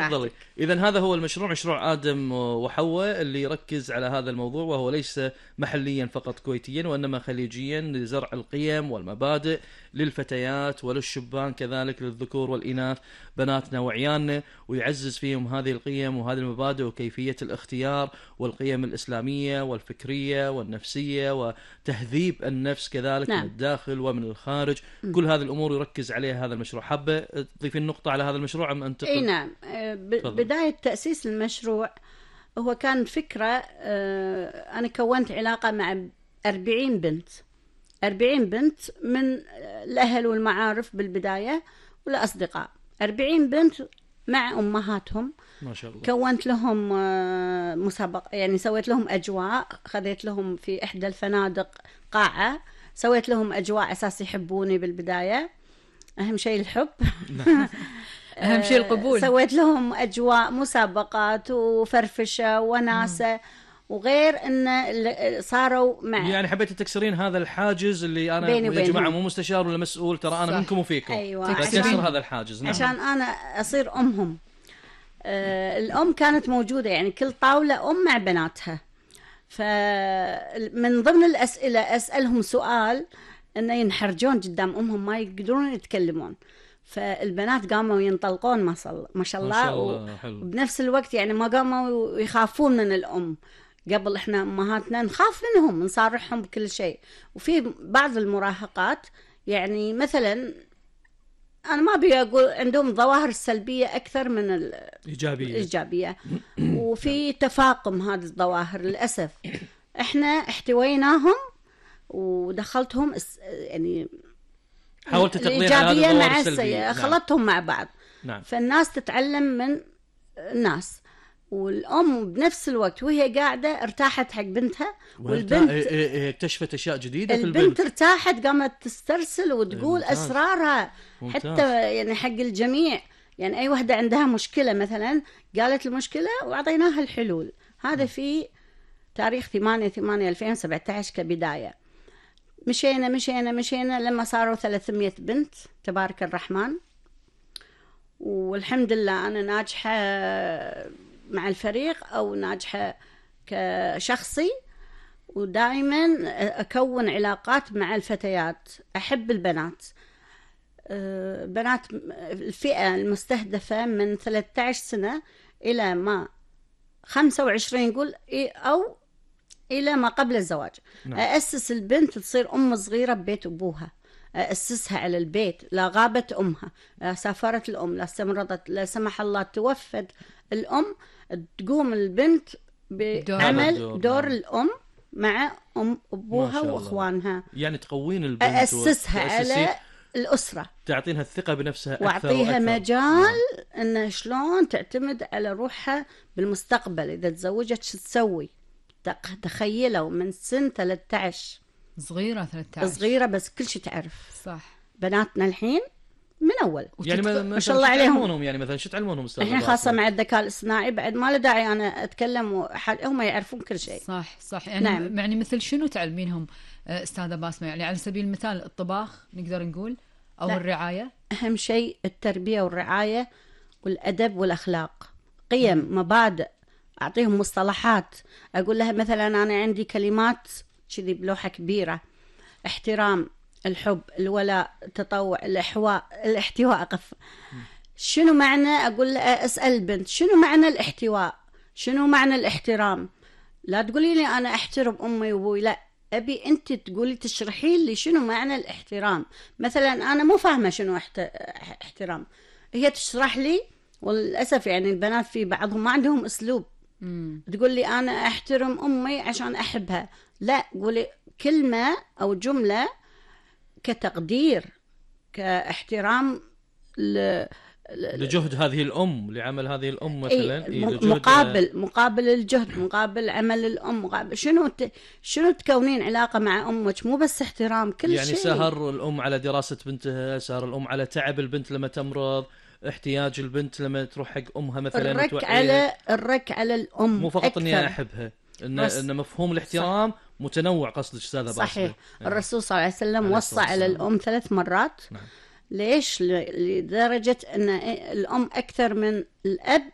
تفضلي. إذن هذا هو المشروع، مشروع آدم وحواء، اللي يركز على هذا الموضوع، وهو ليس محليا فقط كويتيا وإنما خليجيا، لزرع القيم والمبادئ للفتيات وللشبان كذلك، للذكور والإناث، بناتنا وعيالنا، ويعزز فيهم هذه القيم وهذه المبادئ وكيفية الاختيار والقيم الإسلامية والفكرية والنفسية وتهذيب النفس كذلك. نعم. من الداخل ومن الخارج. كل هذه الأمور يركز عليها هذا المشروع. حابة تضيفين نقطة على هذا المشروع أم أنتقل؟ اي نعم. بداية تأسيس المشروع هو كان فكرة، أنا كونت علاقة مع 40 بنت من الأهل والمعارف بالبداية والأصدقاء. 40 بنت مع أمهاتهم ما شاء الله. كونت لهم مسابقة، يعني سويت لهم أجواء، خذيت لهم في إحدى الفنادق قاعة، سويت لهم أجواء أساس يحبوني بالبداية، أهم شيء الحب. أهم شيء القبول. سويت لهم أجواء مسابقات وفرفشة وناسة، وغير أن صاروا مع، يعني حبيت تكسرين هذا الحاجز اللي أنا يا جماعة مو مستشار ولا مسؤول، ترى أنا منكم وفيكم. أيوة. تكسر هذا الحاجز. نعم. عشان أنا أصير أمهم. الأم كانت موجودة، يعني كل طاولة أم مع بناتها. فمن ضمن الأسئلة أسألهم سؤال أنه ينحرجون قدام أمهم، ما يقدرون يتكلمون. فالبنات قاموا ينطلقون ما شاء الله وبنفس الوقت يعني ما قاموا يخافون من الأم. قبل إحنا أمهاتنا نخاف منهم، نصارحهم بكل شيء. وفي بعض المراهقات يعني مثلا أنا ما أبي أقول عندهم ظواهر سلبية أكثر من الإيجابية. وفي تفاقم هذه الظواهر للأسف. إحنا احتويناهم ودخلتهم يعني حاولت تقضين على هذه مع السيئة. خلطتهم مع بعض. نعم. فالناس تتعلم من الناس، والأم بنفس الوقت وهي قاعدة ارتاحت حق بنتها، والبنت اكتشفت أشياء جديدة في البنت ارتاحت، قامت تسترسل وتقول أسرارها. ممتاز. حتى يعني حق الجميع، يعني أي وحدة عندها مشكلة مثلا قالت المشكلة وعطيناها الحلول. هذا في تاريخ 8/8/2017 كبداية. مشينا لما صاروا 300 بنت تبارك الرحمن. والحمد لله أنا ناجحة مع الفريق أو ناجحة كشخصي، ودائما أكون علاقات مع الفتيات. أحب البنات. بنات الفئة المستهدفة من 13 سنة إلى ما 25 نقول، أو إلى ما قبل الزواج. نعم. أأسس البنت تصير أم صغيرة ببيت أبوها، أسسها على البيت. لا غابت أمها، لا سافرت الأم، لا استمرضت، لا سمح الله توفت الأم، تقوم البنت بعمل دور الأم مع أبوها وأخوانها. يعني تقوين البنت، أسسها على الأسرة، تعطينها الثقة بنفسها أكثر وأعطيها مجال أنها شلون تعتمد على روحها بالمستقبل. إذا تزوجت شو تسوي؟ تخيلوا من سن 13 صغيرة بس كل شيء تعرف. صح. بناتنا الحين من أول يعني ما شاء الله عليهم. يعني مثلا شو تعلمونهم الحين خاصة مع الذكاء الاصطناعي بعد ما له داعي أنا أتكلم هم يعرفون كل شيء. صح. يعني نعم. يعني مثل شنو تعلمينهم أستاذة باسمة؟ يعني على سبيل المثال الطباخ نقدر نقول، أو لا. الرعاية. أهم شيء التربية والرعاية والأدب والأخلاق، قيم، مبادئ. أعطيهم مصطلحات. أقول لها مثلا أنا عندي كلمات كذي بلوحة كبيرة: احترام، الحب، الولاء، التطوع، الاحتواء. شنو معنى؟ أقول لها أسأل البنت شنو معنى الاحتواء، شنو معنى الاحترام. لا تقولي لي أنا أحترم أمي وأبوي، لا، أبي أنت تقولي تشرحي لي شنو معنى الاحترام. مثلا أنا مو فاهمة شنو احترام، هي تشرح لي. وللأسف يعني البنات في بعضهم ما عندهم أسلوب. تقول لي أنا أحترم أمي عشان أحبها، لا، قولي كلمة أو جملة كتقدير، كاحترام لجهد هذه الأم، لعمل هذه الأم مثلا. مقابل الجهد، مقابل عمل الأم، مقابل شنو تكونين علاقة مع أمك، مو بس احترام كل يعني شيء. سهر الأم على دراسة بنتها، سهر الأم على تعب البنت لما تمرض، احتياج البنت لما تروح حق أمها مثلا. الرك على الأم، مو فقط إني أحبها، إن مفهوم الاحترام صح. متنوع. قصدك أستاذة باسمة؟ صحيح. الرسول صلى الله عليه وسلم وصى على الأم 3 مرات. نعم. ليش؟ لدرجة أن الأم أكثر من الأب